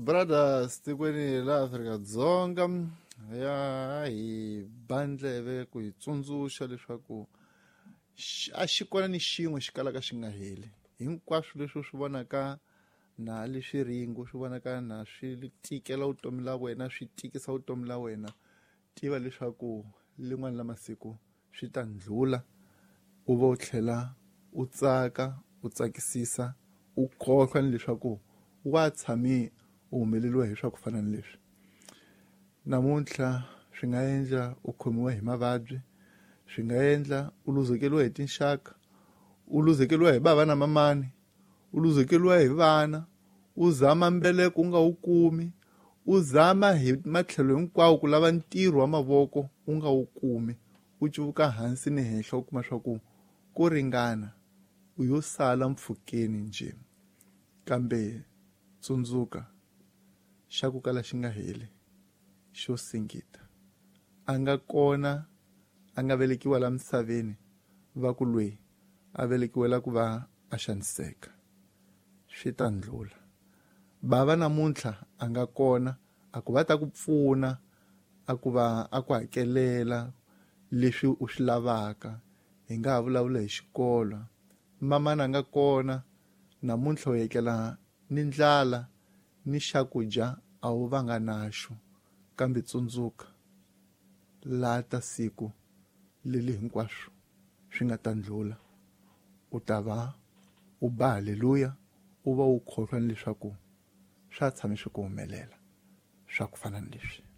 Brothers tikweni la Afrika-Dzonga ya hi ba ndleve ku hi tsundzuxa leswaku a xi kona ni xin'we xi kalaka xi nga heli. Hinkwaswo leswi u swi vonaka na leswi ringo swi vonaka na swi tikela vutomi la wena, swi tikisa vutomi la wena, tiva leswaku lin'wana la masiku swi ta ndlhula, u va u tlhela u tsaka, u tsakisisa, u khohlwa ni leswaku wa tshame u humeleriwa hi swa ku fana ni leswi. Namuntlha swi nga endla u khomiwa hi mavabyi, swi nga endla u luzekeriwa hi tinxaka, u luzekeriwa hi bava na mamani, u luzekeriwa hi vana, u zama mbeleko u nga wu kumi, u zama hi matlhelo hinkwawo ku lava ntirho wa mavoko u nga wu kumi, u cuvuka hansi ni henhla u kuma swa ku ku ringana u yo sala mpfhukeni njhe. Kambe tsundzuka, xa ku kala xi nga heli xo singita. A nga kona a nga velekiwa la misaveni va ku loyi a velekiwela ku va a xaniseka. Swi ta ndlula. Bava namuntlha a nga kona a ku va ta ku pfuna, a ku va a ku hakelela leswi u swi lavaka. Hi nga ha vulavula hi xikolo. Mamana a nga kona namuntlha u etlela ni ndlala ni xakudya a wu vanga naxo. Kambe tsundzuka, lata siku leli hinkwaswo swi nga ta ndlula, u ta va u ba haleluya, u va u khohlwa ni leswaku swa tshame swi ku humelela swa ku fana ni leswi.